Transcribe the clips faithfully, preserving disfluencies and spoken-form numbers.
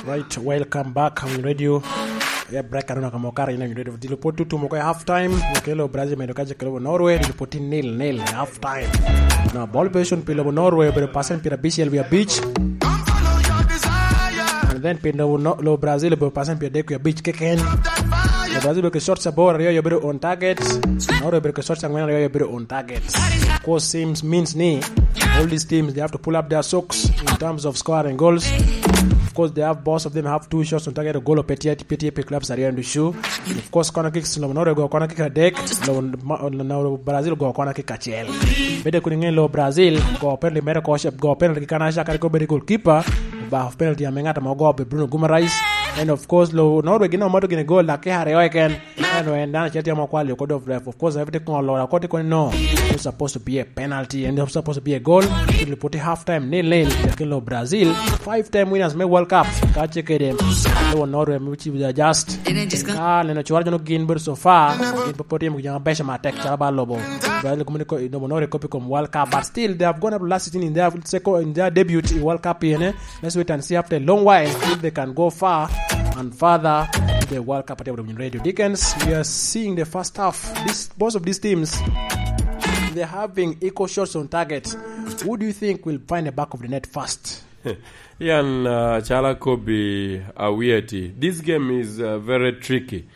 Right, welcome back on radio. Yeah, break, I don't know, kamo kare, you know, radio. Dilo pwod tutumo ko half time. Kelo Brazil medo kaje kelo Norway, dilo pwod tin nil nil half time. Na ball possession pi lobo Norway obedo percent pyerabicel wiye abic. And then pi lobo, no, lobo Brazil obedo percent pyeradek wiye abic keken. Lobo Brazil obedo ki shots aboro, aryo obedo on target. Norway obedo ki shots angwen, aryo obedo on target. Of course, seems, means ni all these teams, they have to pull up their socks in terms of scoring goals. Of course, they have, both of them have two shots on target, goal pe tye, pe tye pi clubs aryo ducu. Of course, corner kicks, lobo Norway ogoyo corner kick adek, lobo ma-, lobo Brazil ogoyo corner kick acel. Bede kun ingen lobo Brazil, goyo penalty mere ko, goyo penalty ki kanaca kadi ko bede goalkeeper, ba penalty ame ng'at ame ogoyo be Bruno Guimaraes. And of course, lobo Norway gin omato gini goal, dakika aryo keken. Eno en dano acel tye ma okwalo oko dog ref. Of course, ref tye kono lora oko tye kono, no. It's supposed to be a penalty and it's supposed to be a goal. Tye pwod tye half time nil nil. Lakin lobo Brazil, five time winners me World Cup. Ka ce kede, lobo Norway, which is just. Ka neno cwara jono gin bedo so far, gin pe pwod tye mo jama beca matek calo ba lobo Brazil, kome ni ko-, lobo Norway kopi kom World Cup, but still they have gone up last season in their second, in their debut in World Cup, you know. Let's wait and see after a long while if they can go far and further to the World Cup. At Radio Dickens, we are seeing the first half. This, both of these teams, they're having equal shots on target. Who do you think will find the back of the net first? Yan, uh, chala Kobe Awieti. This game is, uh, very tricky.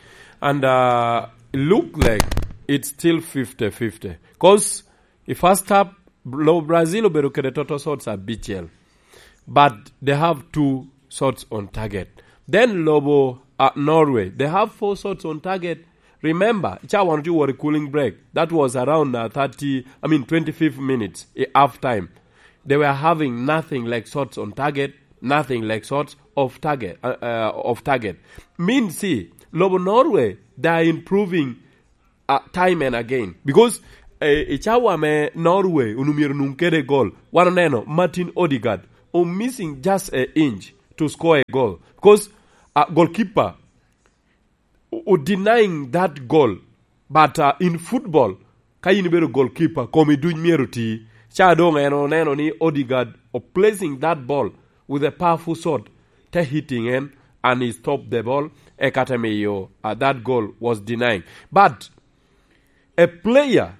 And, uh, look like it's still fifty fifty. 'Cause the first half, Bra-, Brazil obedo kede total shots abicel. But they have two shots on target. Then lobo, uh, Norway, they have four shots on target. Remember, ca wan otye wot i cooling break. That was around, uh, thirty, I mean, twenty-fifth minutes, i half time. They were having nothing like shots on target, nothing like shots off target, uh, uh, off target. Means, see, lobo Norway, they are improving, uh, time and again. Because, eh, i cawa me Norway, onwoŋo myero nuŋ kede gol. Wan oneno Martin Odegaard, o missing just a inch to score a goal. Because, uh, goalkeeper o, o denying that goal. But, uh, in football, ka in ibedo goalkeeper, komi duc myero ti. Ca doŋ en oneno ni Odegaard o placing that ball with a powerful shot, te hitting en, and he stopped the ball, eka te miyo, uh, that goal was denying. But a player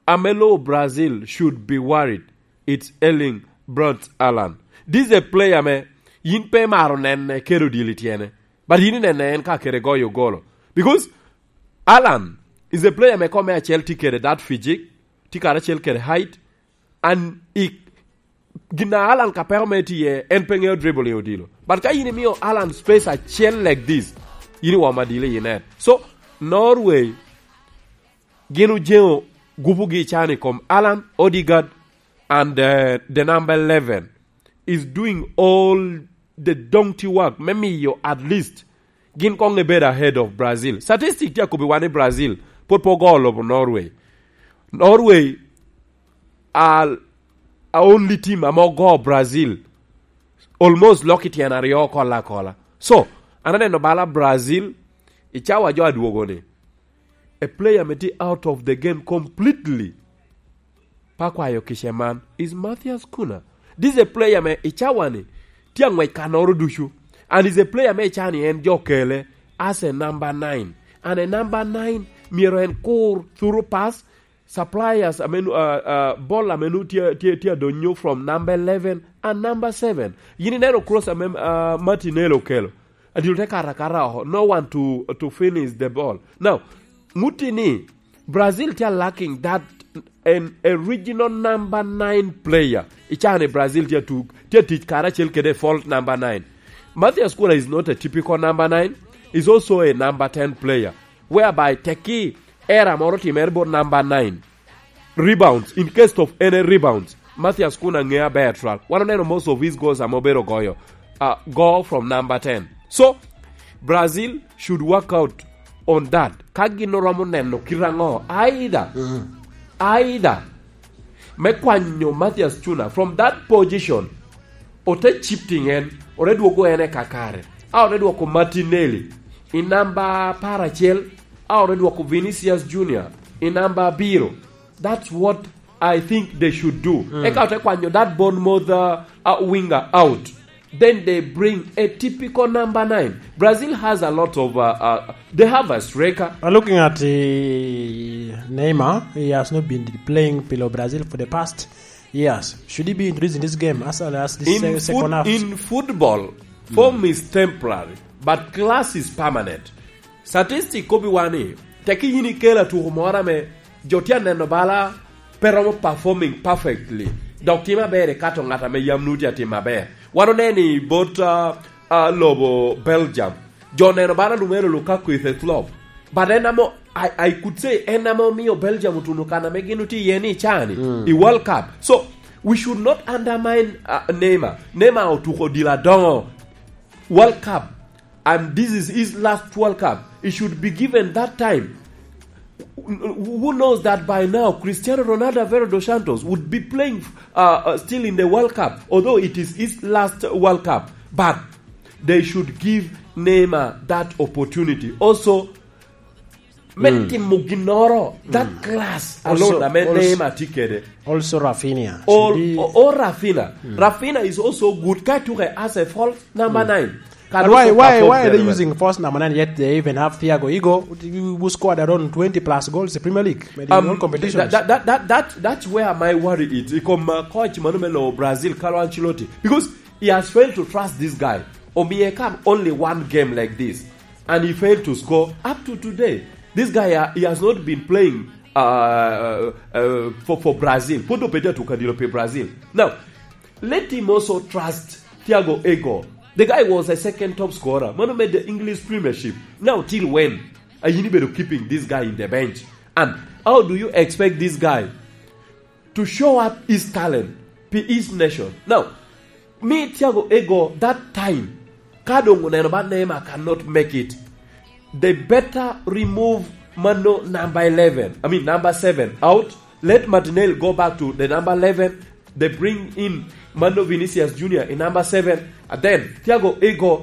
ame lobo Brazil should be worried, it's Erling Braut Haaland. This is a player ame yin pe imaro nene kede odilo i tyene, but yin inene en ka kede goyo golo. Because Haaland is a player ame kome acel tye kede that physique, tye karacel kede height, and i gin a Haaland ka peko mere tye iye, en pe ŋeo dribbling odilo. But ka yin imio Haaland space acel like this, yin iwomo adilo i net. So, Norway, gin ojeŋo gupugi i can i kom Haaland, Odegaard, and, uh, the number eleven is doing all the donkey work me miyo at least gin koŋ ebed ahead of Brazil. Statistic tye akobbi wan ni Brazil pwod pe ogo lobo Norway. Norway are a only team ame ogo Brazil almost lok i tyen aryo kola kola. So, an aneno bala Brazil, i cawa jo adwogo ni, a player ame tye out of the game completely, pa kwayo kice man, is Matthias Cunha. This is a player me i cawa ni tye aŋwec kanoro ducu. And is a player me i cawa ni en jo kele as a number nine. And a number nine myero en kur through pass, suppliers ame nu-, uh, uh, ball ame nu tye, tye, tye adonyo from number eleven and number seven. Yin ineno cross ame, uh, Martinelli okelo. Adilo te kara kara oko. No one to, to finish the ball. Now, ŋuti ni Brazil tye lacking that an original number nine player. I cawa ni Brazil tye tuk, tye tic karacel kede false number nine. Matthias Cunha is not a typical number nine. He's also a number ten player, whereby teki error moro timere bot number nine. Rebounds, in case of any rebounds, Matthias Cunha ŋeo aber twal. Wan oneno most of his goals ame obedo goyo, uh, go from number ten. So, Brazil should work out on that. Ka gin oromo neno kit aŋo, either, either me kwanyo Matthias Cunha from that position, ote shifting en, ote dwogo en e kakare. A ote dwoko Martinelli i namba apar acel, a ote dwoko Vinicius Junior i namba abiro. That's what I think they should do. Eka ote kwanyo that Bournemouth, uh, uh, winger out. Then they bring a typical number nine. Brazil has a lot of, uh, uh, they have a striker. Uh, looking at, uh, Neymar, he has not been playing below Brazil for the past years. Should he be introduced in this game as early as this In se-, second foot-, half? In football, form is temporary, but class is permanent. Statistic kobiwa ni, teki yin ikelo atuko moro ame jo tye aneno bala pe romo performing perfectly, dok tye maber ikato ngat ame yam nut tye atim maber. Wan oneno i bot, ah, ah, lobo Belgium. Jo oneno bala lumeno Lukaku is a flop. But en amo, I, I could say, en ame omio Belgium otuno kan ame gin otye iye ni i caa-ni, i World Cup. So, we should not undermine, ah, Neymar. Neymar otuko odilo adoŋo World Cup, and this is his last World Cup. He should be given that time. Who knows that by now Cristiano Ronaldo Aveiro dos Santos would be playing, uh, uh, still in the World Cup, although it is his last World Cup. But they should give Neymar that opportunity. Also, me timo ginnoro, that class alone ame Neymar tye kede. Also Rafinha. Or, or, or Rafinha. Rafinha is also good. Ka tuke as a false number nine. But why, why, why are they using false number nine, yet they even have Thiago Ego, who scored around twenty plus goals in the Premier League, maybe in all competitions? That, that, that, that, that's where my worry is. Ikom, uh, coach mano me lo Brazil, Carlo Ancelotti, because he has failed to trust this guy. Omiye come only one game like this, and he failed to score up to today. This guy, uh, he has not been playing, uh, uh, for, for Brazil. Pwod opedde atuka dilo pe Brazil. Now, let him also trust Thiago Ego. The guy was a second top scorer. Mano made the English Premiership. Now, till when are you going to keeping this guy in the bench? And how do you expect this guy to show up his talent, be his nation? Now, me Thiago Ego, that time, ka doŋ oneno ba Neymar cannot make it, they better remove mano number eleven, I mean number seven out. Let Martinelli go back to the number eleven. They bring in mano Vinicius Junior in number seven. And then Thiago Ego